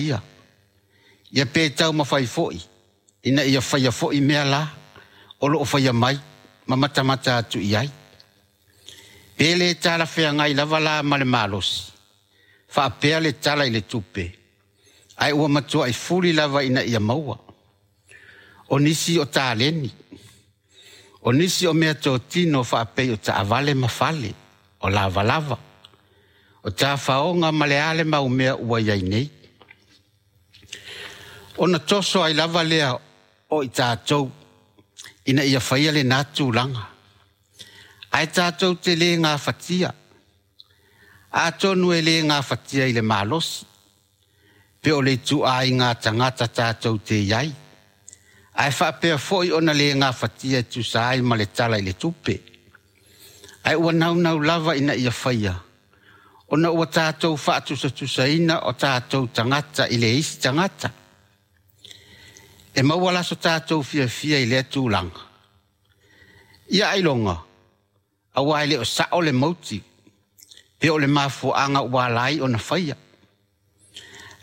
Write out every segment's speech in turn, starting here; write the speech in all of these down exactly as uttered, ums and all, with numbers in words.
ia. Ia pe taumafai foi ina ia faia foi mea la o loo faia mai ma matamata atu i ai. Pe le talafeagai lava la ma le malosi, faapea le tala i le tupe, ae ua matuai fuli lava ina ia maua. O nisi o taleni, o nisi o mea totino faapei o taavale ma fale, o lavalava, o tafaoga ma le a le mau mea ua i ai nei. Ona toso ai lava lea o i tatou ina ia faia lena tulaga. Ae tatou te le gafatia. Atonu e le gafatia i le malosi, pe o le ituaiga tagata tatou te i ai. Ae faapea foi ona le gafatia e tusa ai ma le tala i le tupe. Ae ua naunau lava ina ia faia, ona ua tatou faatusatusaina o tatou tagata i le isi tagata. E maua la so tatou fiafia i lea tulaga. Ia ailoga, aua e le o sao le mauti, pe o le mafuaaga ua ala ai ona faia.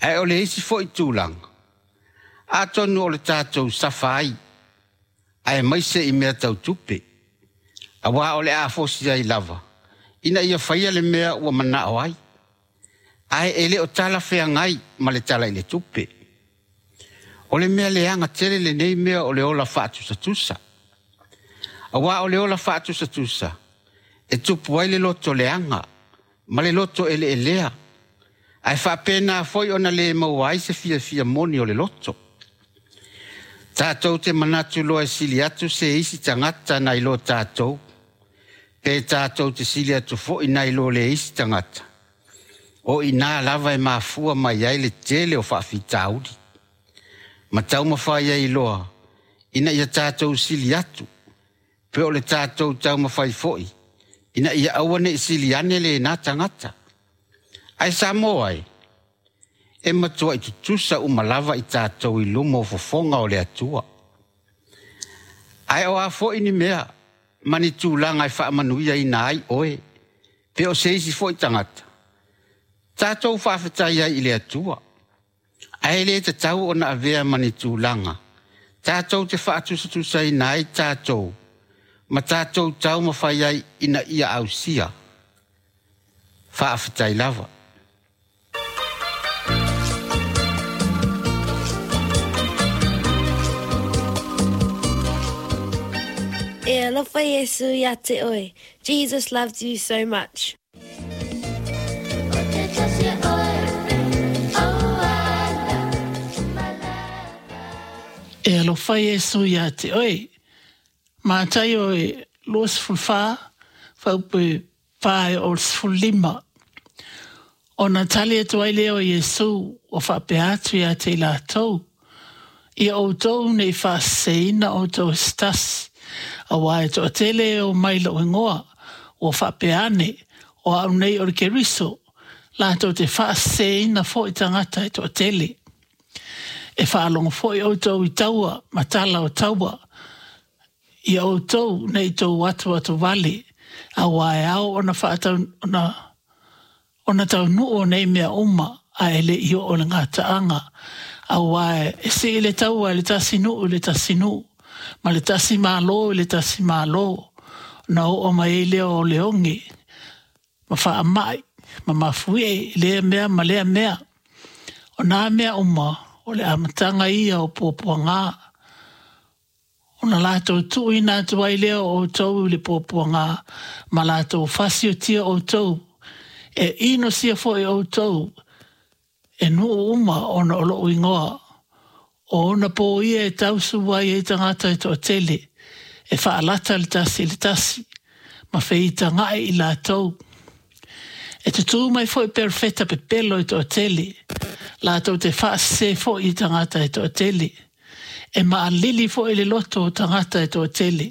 Ae o le isi foi tulaga, atonu o le tatou safa ai, aemaise i mea tau tupe, aua o le a fosi ai lava, ina ia faia le mea ua manao ai. Ae e le o talafeagai ma le tala i le tupe. O le mea leaga tele lenei mea o le ola faatusatusa. Aua o le ola faatusatusa, e tupu ai le loto leaga ma le loto eleelea, ae faapena foi ona le maua ai se fiafia moni o le loto. Tatou te manatu loa e sili atu se isi tagata nai lo tatou, pe tatou te sili atu foi nai lo le isi tagata, o i na lava e mafua mai ai le tele o faafitauli. Ma taumafai ai loa ina ia tatou sili atu, pe o le tatou taumafai foi ina ia aua ne i sili ane lena tagata. Ae Samoa e, e matuai tutusa uma lava i tatou i luma o fofoga o le Atua. Ae o a foi ni mea ma ni tulaga e faamanuiaina ai oe, pe o se isi foi tagata, tatou faafetai ai i le Atua. Ae le tatau ona avea ma ni tulaga tatou te faatusatusaina ai tatou ma tatou taumafai ai ina ia ausia. Faafetai lava. E alofa Iesu ia te oe. Jesus loves you so much. E alofa Iesu ia te oe. Mataio e luasefulufa, fuaiupu e fa e oo i le sefululima. Ona tali atu ai lea o Iesu ua faapea atu ia te i latou, Ia outou ne i faaseseina outou e se tasi, auā e toatele e omai i lou igoa, ua faapea ane, O au nei o le Keriso, latou te faaseseina foi tagata e toatele. E faalogo foi outou i taua ma tala o taua, ia outou ne i tou atuatu vale, auā e ao ona faatau, ona, ona taunuu o nei mea uma, ae le i oo le gataaga, auā e sii le taua e le tasi nuu i le tasi nuu, ma le tasi malo i le tasi malo, ona oo mai ai lea o le oge, ma faamai, ma mafuie i lea mea ma lea mea. O nā mea uma, o le amataga ia o puapuagā. Ona latou tuuina atu ai lea o outou i le puapuagā, ma latou fasiotia outou, e inosia foi outou e nuu uma ona o lou igoa. O ona pō ia e tausu ai ai tagata e toatele, e faalata le tasi i le tasi, ma feitagaʻi i latou. E tutū mai foi perofeta pepelo e toatele, latou te faasesē foi i tagata e toatele. E maalili foi le loto o tagata e toatele,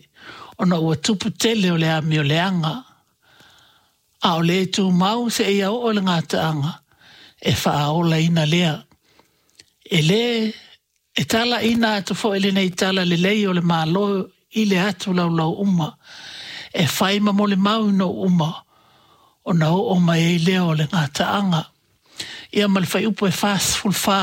ona ua tupu tele o le amioleaga. A o le tumau seia oo i le gataaga, e faaolaina lea. E lē e talaina atu foi lenei tala lelei o le Malo i le atu laulau uma, e fai ma molimau i nuu uma, ona oo mai ai lea o le gataaga. Ia ma le fuaiupu e fasefulufa.